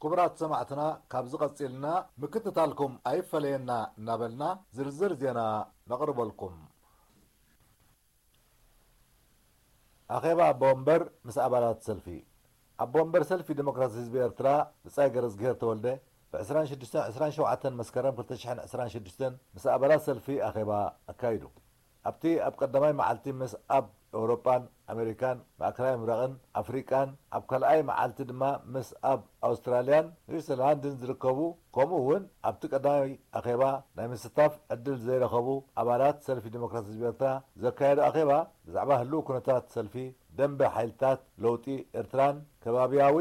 ክቡራት ሰማዕትና፣ ካብዚ ቀጺልና ምክትታልኩም ኣይፈለየና እናበልና ዝርዝር ዜና ነቕርበልኩም። ኣኼባ ኣቦ ወንበር ምስ ኣባላት ሰልፊ። ኣቦ ወንበር ሰልፊ ዲሞክራሲ ህዝቢ ኤርትራ ብጻይ ገረዝግሄር ተወልደ ብ ዕስራን ሽዱሽተን ዕስራን ሸውዓተን መስከረም ክልተ ሽሕን ዕስራን ሽዱሽተን ምስ ኣባላት ሰልፊ ኣኼባ ኣካይዱ። ኣብቲ ኣብ ቀዳማይ መዓልቲ ምስ ኣብ ኤውሮጳን ኣሜሪካን ማእከላይ ምብራቕን ኣፍሪቃን፣ ኣብ ካልኣይ መዓልቲ ድማ ምስ ኣብ ኣውስትራልያን ኒውዚላንድን ዝርከቡ፣ ከምኡ እውን ኣብቲ ቀዳማይ ኣኼባ ናይ ምስታፍ ዕድል ዘይረኸቡ ኣባላት ሰልፊ ዲሞክራሲ ህዝቢ ኤርትራ ዘካየዶ ኣኼባ ብዛዕባ ህልው ኩነታት ሰልፊ፣ ደንበ ሓይልታት ለውጢ ኤርትራን ከባብያዊ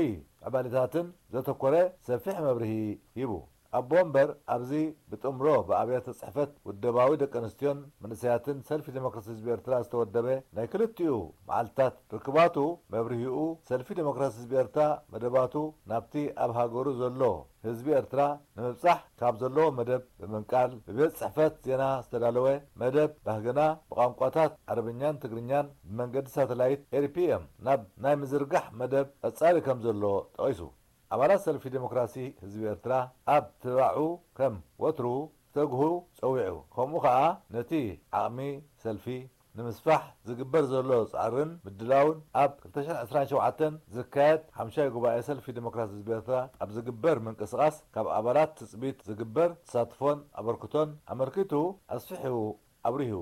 ዕባሌታትን ዘተኮረ ሰፊሕ መብርሂ ሂቡ። ኣቦ ወንበር ኣብዚ ብጥምሮ ብኣብያተ ጽሕፈት ውደባዊ ደቂ ኣንስትዮን መንእሰያትን ሰልፊ ዲሞክራሲ ህዝቢ ኤርትራ ዝተወደበ ናይ ክልቲኡ መዓልትታት ርክባቱ መብርሂኡ፣ ሰልፊ ዲሞክራሲ ህዝቢ ኤርትራ መደባቱ ናብቲ ኣብ ሃገሩ ዘሎ ህዝቢ ኤርትራ ንምብጻሕ ካብ ዘለዎ መደብ ብምንቃል፣ ብቤት ጽሕፈት ዜና ዝተዳለወ መደብ ባህግና ብቋንቋታት ዓረብኛን ትግርኛን ብመንገዲ ሳተላይት ኤሪፒኤም ናብ ናይ ምዝርጋሕ መደብ ቀጻሊ ከም ዘሎ ጠቒሱ። ኣባላት ሰልፊ ዴሞክራሲ ህዝቢ ኤርትራ ኣብ ትባዑ ከም ወትሩ ክተግሁ ጸዊዑ። ከምኡ ከኣ ነቲ ዓቕሚ ሰልፊ ንምስፋሕ ዝግበር ዘሎ ጻዕርን ምድላውን ኣብ ክልተ ሽሕን ዕስራን ሸውዓተን ዝካየድ ሓምሻይ ጉባኤ ሰልፊ ዴሞክራሲ ህዝቢ ኤርትራ ኣብ ዝግበር ምንቅስቓስ ካብ ኣባላት ትጽቢት ዝግበር ተሳትፎን ኣበርክቶን ኣመልኪቱ ኣስፊሑ ኣብሪሁ።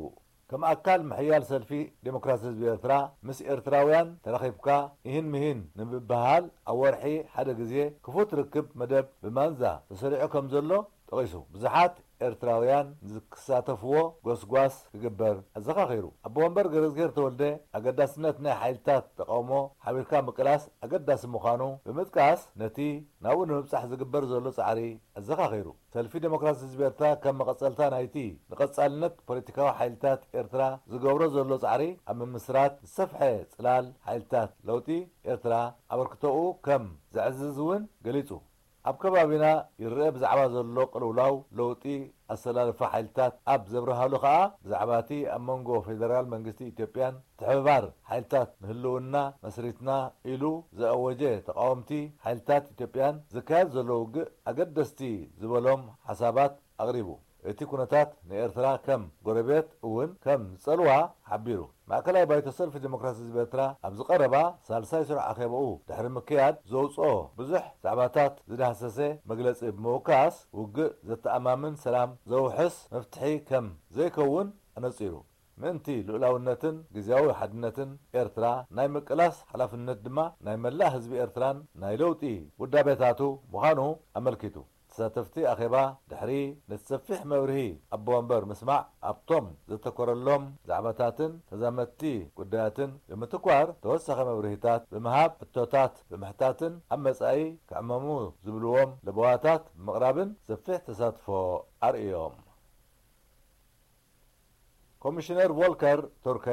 ከም ኣካል ምሕያል ሰልፊ ዴሞክራሲ ህዝቢ ኤርትራ፣ ምስ ኤርትራውያን ተራኺብካ ኢሂን ምሂን ንምብህሃል ኣብ ወርሒ ሓደ ግዜ ክፉት ርክብ መደብ ብማንዛ ተሰሪዑ ከም ዘሎ ጠቒሱ። ብዙሓት ኤርትራውያን ንዝክሳተፍዎ ጎስጓስ ክግበር ኣዘኻኺሩ። ኣቦ ወንበር ገረዝግሄር ተወልደ፣ ኣገዳስነት ናይ ሓይልታት ተቓውሞ ሓቢርካ ምቅላስ ኣገዳሲ ምዃኑ ብምጥቃስ፣ ነቲ ናብኡ ንምብጻሕ ዝግበር ዘሎ ጻዕሪ ኣዘኻኺሩ። ሰልፊ ዴሞክራሲ ህዝቢ ኤርትራ ከም መቐጸልታ ናይቲ ንቐጻልነት ፖለቲካዊ ሓይልታት ኤርትራ ዝገብሮ ዘሎ ጻዕሪ ኣብ ምምስራት ዝሰፍሐ ጽላል ሓይልታት ለውጢ ኤርትራ ኣበርክቶኡ ከም ዘዕዝዝ እውን ገሊጹ። ኣብ ከባቢና ይረአ ብዛዕባ ዘሎ ቅልውላው ለውጢ ኣሰላልፋ ሓይልታት ኣብ ዘብርሃሉ ከኣ ብዛዕባ እቲ ኣብ መንጎ ፌደራል መንግስቲ ኢትዮጵያን ምትሕብባር ሓይልታት ንህልውና መስሪትና ኢሉ ዘኣወጀ ተቓወምቲ ሓይልታት ኢትዮጵያን ዝካየድ ዘሎ ውግእ ኣገደስቲ ዝበሎም ሓሳባት ኣቕሪቡ። እቲ ኩነታት ንኤርትራ ከም ጎረቤት እውን ከም ዝጸልዋ ሓቢሩ። ማእከላይ ባይቶ ሰልፊ ዴሞክራሲ ህዝቢ ኤርትራ ኣብዚ ቀረባ ሳልሳይ ስሩዕ ኣኼባኡ ድሕሪ ምክያድ ዘውጽኦ ብዙሕ ዛዕባታት ዝዳህሰሰ መግለጺ ብምውካስ፣ ውግእ ዘተኣማምን ሰላም ዘውሕስ መፍትሒ ከም ዘይከውን ኣነጺሩ። ምእንቲ ልኡላውነትን ግዝያዊ ሓድነትን ኤርትራ ናይ ምቅላስ ሓላፍነት ድማ ናይ መላእ ህዝቢ ኤርትራን ናይ ለውጢ ውዳቤታቱ ምዃኑ ኣመልኪቱ። ተሳተፍቲ ኣኼባ ድሕሪ ነቲ ሰፊሕ መብርሂ ኣቦ ወንበር ምስማዕ፣ ኣብቶም ዘተኮረሎም ዛዕባታትን ተዛመድቲ ጉዳያትን ብምትኳር ተወሳኺ መብርሂታት ብምሃብ፣ ሕቶታት ብምሕታትን ኣብ መጻኢ ክዕመሙ ዝብልዎም ለበዋታት ብምቕራብን ሰፊሕ ተሳትፎ ኣርእዮም። ኮሚሽነር ቮልከር ቱርክ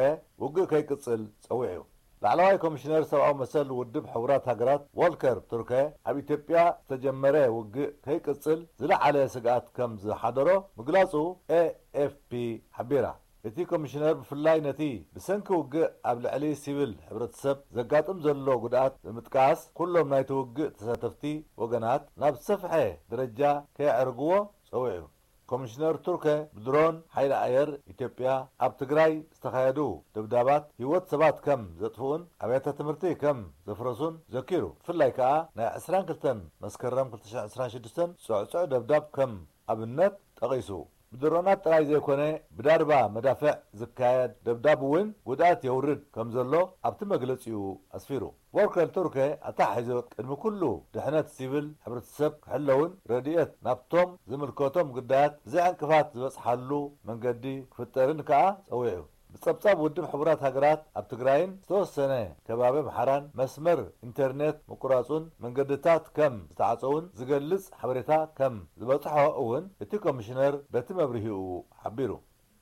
ውግእ ከይቅጽል ጸዊዑ። ላዕለዋይ ኮሚሽነር ሰብኣዊ መሰል ውድብ ሕቡራት ሃገራት ቮልከር ቱርክ ኣብ ኢትዮጵያ ዝተጀመረ ውግእ ከይቅጽል ዝለዓለ ስግኣት ከም ዝሓደሮ ምግላጹ ኤኤፍፒ ሓቢራ። እቲ ኮሚሽነር ብፍላይ ነቲ ብሰንኪ ውግእ ኣብ ልዕሊ ሲቪል ሕብረተሰብ ዘጋጥም ዘሎ ጉድኣት ብምጥቃስ፣ ኩሎም ናይቲ ውግእ ተሳተፍቲ ወገናት ናብ ዝሰፍሐ ደረጃ ከየዕርግዎ ጸዊዑ። ኮሚሽነር ቱርክ ብድሮን ሓይሊ ኣየር ኢትዮጵያ ኣብ ትግራይ ዝተኻየዱ ደብዳባት ህይወት ሰባት ከም ዘጥፍኡን ኣብያተ ትምህርቲ ከም ዘፍረሱን ዘኪሩ። ብፍላይ ከኣ ናይ ዕስራን ክልተን መስከረም ክልተ ሽሕን ዕስራን ሽዱሽተን ጽዕጹዕ ደብዳብ ከም ኣብነት ጠቒሱ። ብድሮናት ጥራይ ዘይኮነ ብዳርባ መዳፍዕ ዝካየድ ደብዳብ እውን ጉድኣት የውርድ ከም ዘሎ ኣብቲ መግለጺኡ ኣስፊሩ። ቮልከር ቱርክ ኣተሓሒዙ ቅድሚ ኩሉ ድሕነት ሲቪል ሕብረተሰብ ክሕለውን ረድኤት ናብቶም ዝምልከቶም ግዳያት ብዘይ ዕንቅፋት ዝበጽሓሉ መንገዲ ክፍጠርን ከኣ ጸዊዑ። ብጸብጻብ ውድብ ሕቡራት ሃገራት ኣብ ትግራይን ዝተወሰነ ከባቢ ኣምሓራን መስመር ኢንተርኔት ምቁራጹን መንገድታት ከም ዝተዓጸውን ዝገልጽ ሓበሬታ ከም ዝበጽሖ እውን እቲ ኮሚሽነር በቲ መብርሂኡ ሓቢሩ።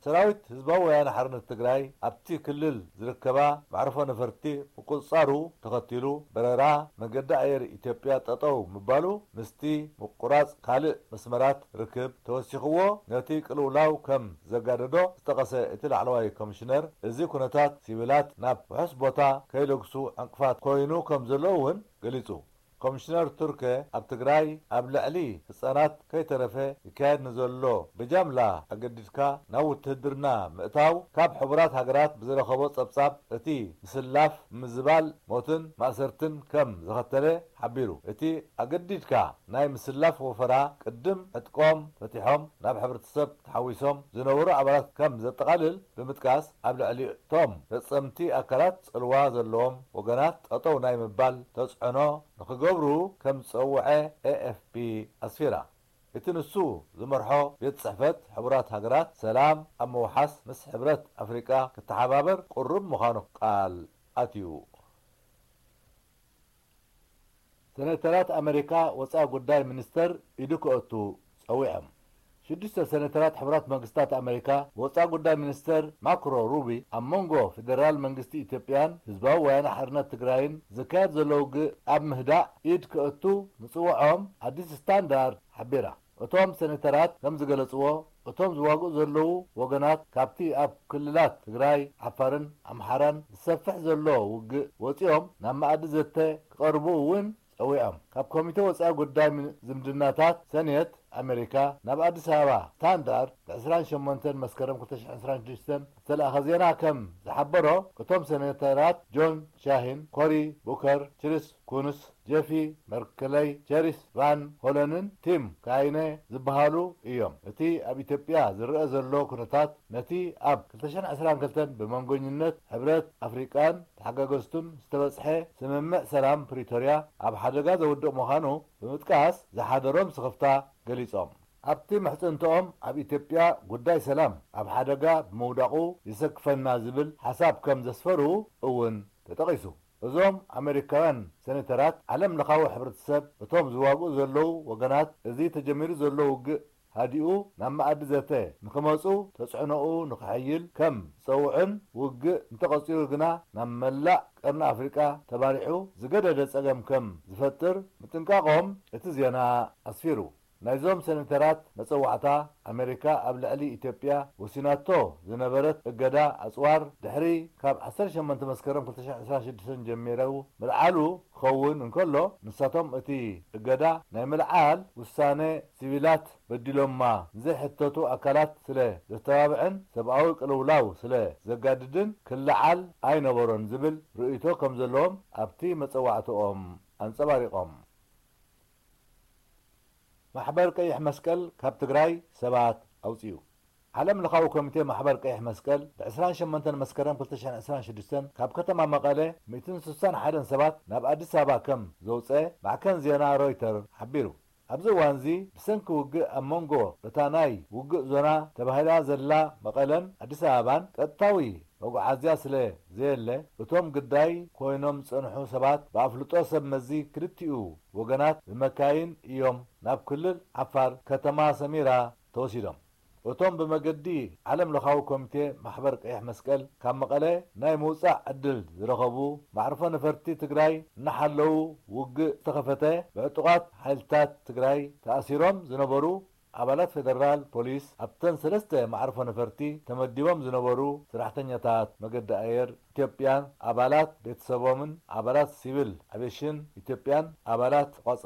ሰራዊት ህዝባዊ ወያነ ሓርነት ትግራይ ኣብቲ ክልል ዝርከባ መዕርፎ ነፈርቲ ምቁጽጻሩ ተኸቲሉ፣ በረራ መንገዲ ኣየር ኢትዮጵያ ጠጠው ምባሉ ምስቲ ምቁራጽ ካልእ መስመራት ርክብ ተወሲኽዎ፣ ነቲ ቅልውላው ከም ዘጋደዶ ዝጠቐሰ እቲ ላዕለዋይ ኮሚሽነር፣ እዚ ኩነታት ሲቪላት ናብ ውሑስ ቦታ ከይለግሱ ዕንቅፋት ኮይኑ ከም ዘሎ እውን ገሊጹ። ኮሚሽነር ቱርኪ ኣብ ትግራይ ኣብ ልዕሊ ህጻናት ከይተረፈ ይካየድ ንዘሎ ብጃምላ ኣገዲድካ ናብ ውትህድርና ምእታው ካብ ሕቡራት ሃገራት ብዝረኸቦ ጸብጻብ እቲ ምስላፍ ምዝባል ሞትን ማእሰርትን ከም ዘኸተለ ሓቢሩ። እቲ ኣገዲድካ ናይ ምስላፍ ወፈራ ቅድም ዕጥቆም ፈቲሖም ናብ ሕብረተሰብ ተሓዊሶም ዝነበሩ ኣባላት ከም ዘጠቓልል ብምጥቃስ ኣብ ልዕሊ እቶም ፈጸምቲ ኣካላት ጽልዋ ዘለዎም ወገናት ጠጠው ናይ ምባል ተጽዕኖ ንኽገብሩ ከም ዝጸውዐ ኤ ኤፍ ፒ ኣስፊራ። እቲ ንሱ ዝመርሖ ቤት ጽሕፈት ሕቡራት ሃገራት ሰላም ኣብ ምውሓስ ምስ ሕብረት ኣፍሪቃ ክተሓባበር ቅሩብ ምዃኑ ቃል ኣትዩ። ሰነተራት ኣመሪካ ወጻኢ ጉዳይ ሚኒስተር ኢዱ ክእቱ ጸዊዖም። ሽዱሽተ ሰነተራት ሕቡራት መንግስታት ኣመሪካ ወጻኢ ጉዳይ ሚኒስተር ማክሮ ሩቢ ኣብ መንጎ ፌደራል መንግስቲ ኢትዮጵያን ህዝባዊ ወያነ ሓርነት ትግራይን ዝካየድ ዘሎ ውግእ ኣብ ምህዳእ ኢድ ክእቱ ምጽውዖም ኣዲስ ስታንዳርድ ሓቢራ። እቶም ሰነተራት ከም ዝገለጽዎ፣ እቶም ዝዋግኡ ዘለዉ ወገናት ካብቲ ኣብ ክልላት ትግራይ፣ ዓፋርን ኣምሓራን ዝሰፍሕ ዘሎ ውግእ ወጺኦም ናብ መኣዲ ዘተ ክቐርቡ እውን ጸዊዖም። ካብ ኮሚተ ወጻኢ ጉዳይ ምን-፣ ዝምድናታት ሰኔት ኣሜሪካ ናብ ኣዲስ ኣበባ ስታንዳርድ ብ ዕስራን ሸሞንተን መስከረም ክልተ ሽሕን ዕስራን ሽዱሽተን ዝተላእኸ ዜና ከም ዝሓበሮ፣ እቶም ሰኔተራት ጆን ሻሂን፣ ኮሪ ቡከር፣ ችሪስ ኩንስ፣ ጄፊ መርክለይ፣ ቸሪስ ቫን ሆለንን ቲም ካይነ ዝበሃሉ እዮም። እቲ ኣብ ኢትዮጵያ ዝረአ ዘሎ ኩነታት ነቲ ኣብ ክልተ ሽሕን ዕስራን ክልተን ብመንጎኝነት ሕብረት ኣፍሪቃን ተሓጋገዝቱን ዝተበጽሐ ስምምዕ ሰላም ፕሪቶርያ ኣብ ሓደጋ ዘውድቕ ምዃኑ ብምጥቃስ ዝሓደሮም ስኽፍታ ገሊጾም። ኣብቲ ምሕጽንትኦም ኣብ ኢትዮጵያ ጉዳይ ሰላም ኣብ ሓደጋ ብምውዳቑ የሰክፈና ዝብል ሓሳብ ከም ዘስፈሩ እውን ተጠቒሱ። እዞም ኣመሪካውያን ሰኔተራት ዓለም ለኻዊ ሕብረተሰብ እቶም ዝዋግኡ ዘለዉ ወገናት እዚ ተጀሚሩ ዘሎ ውግእ ሃዲኡ ናብ መኣዲ ዘተ ንኽመጹ ተጽዕኖኡ ንኽሕይል ከም ዝጸውዕን ውግእ እንተቐጺሉ ግና ናብ መላእ ቀርኒ ኣፍሪቃ ተባሪሑ ዝገደደ ጸገም ከም ዝፈጥር ምጥንቃቖም እቲ ዜና ኣስፊሩ። ናይዞም ሰኔተራት መጸዋዕታ ኣመሪካ ኣብ ልዕሊ ኢትዮጵያ ወሲናቶ ዝነበረት እገዳ ኣጽዋር ድሕሪ ካብ ዓሰርተ ሸሞንተ መስከረም ክልተ ሽሕን ዕስራን ሽዱሽተን ጀሚሩ ምልዓሉ ክኸውን እንከሎ፣ ንሳቶም እቲ እገዳ ናይ ምልዓል ውሳነ ሲቪላት በዲሎማ ንዘይሕተቱ ኣካላት ስለ ዘተባብዕን ሰብኣዊ ቅልውላው ስለ ዘጋድድን ክለዓል ኣይነበሮን ዝብል ርእይቶ ከም ዘለዎም ኣብቲ መጸዋዕትኦም ኣንጸባሪቖም። ማሕበር ቀይሕ መስቀል ካብ ትግራይ ሰባት ኣውፅኡ። ዓለም ለኻዊ ኮሚቴ ማሕበር ቀይሕ መስቀል ብ ዕስራን ሸሞንተን መስከረም ክልተ ሽሕን ዕስራን ሽዱሽተን ካብ ከተማ መቐለ ሚእትን ስሳን ሓደን ሰባት ናብ ኣዲስ ኣበባ ከም ዘውፀ ማዕከን ዜና ሮይተር ሓቢሩ። ኣብዚ እዋንዚ ብሰንኪ ውግእ ኣብ መንጎ እታ ናይ ውግእ ዞና ተባሂላ ዘላ መቐለን ኣዲስ ኣበባን ቀጥታዊ መጓዓዝያ ስለ ዘየለ፣ እቶም ግዳይ ኮይኖም ዝጸንሑ ሰባት ብኣፍልጦ ሰብ መዚ ክልቲኡ ወገናት ብመካይን እዮም ናብ ክልል ዓፋር ከተማ ሰሚራ ተወሲዶም። እቶም ብመገዲ ዓለም ለኻዊ ኮሚቴ ማሕበር ቀይሕ መስቀል ካብ መቐለ ናይ ምውጻእ ዕድል ዝረኸቡ፣ መዕርፎ ነፈርቲ ትግራይ እናሓለዉ ውግእ ዝተኸፈተ፣ ብዕጡቓት ሓይልታት ትግራይ ተኣሲሮም ዝነበሩ ኣባላት ፌደራል ፖሊስ ኣብተን ሰለስተ መዕርፎ ነፈርቲ ተመዲቦም ዝነበሩ ሰራሕተኛታት መገዲ ኣየር ኢትዮጵያን ኣባላት ቤተሰቦምን ኣባላት ሲቪል ኣቪየሽን ኢትዮጵያን ኣባላት ተቋጸ